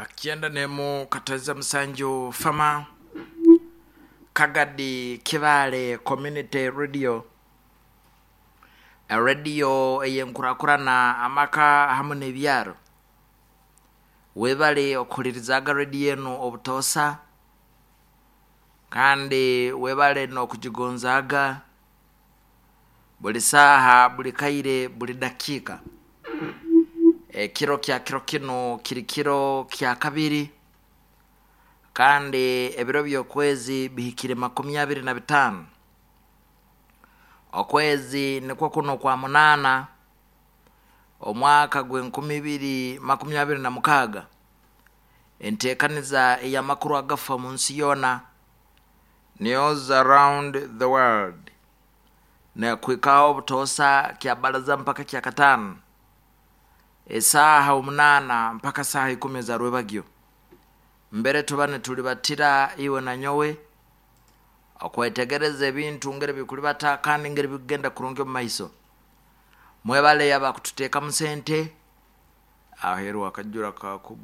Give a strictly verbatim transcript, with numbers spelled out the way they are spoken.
Kyenda nemu kataiza musanju fama Kagadi Kibaale Community Radio, radio eyenkurakurana amaka hamu n'ebyaro. Webale okuhulirizaga rediyo enu obutoosa, kandi webale n'okugigonzaaga buli saaha, buli kaire, buli dakiika. Ekiro kya kiro kinu kiri kiro kya kabiri, kandi ebiro by'okwezi bihikire makumi abiri na bitaano, okwezi nikwo kuno kwa munaana, omwaka gw'enkumi ibiri makumi abiri na mukaaga. Enteekaniza ey'amakuru agafa mu nsi yoona, News Around the World, nekuhikaho obutoosa kya baraza mpaka kya kataano, esaaha omunaana mpaka saaha ikumi eza rwebagyo. Mbere tuba nitulibatira iwe na nyowe okwetegereza ebintu ngeri bikulibata kandi ngeri bikugenda kurungi omu maiso. Mwebale abakututeekamu sente aheeru akajura kakugu.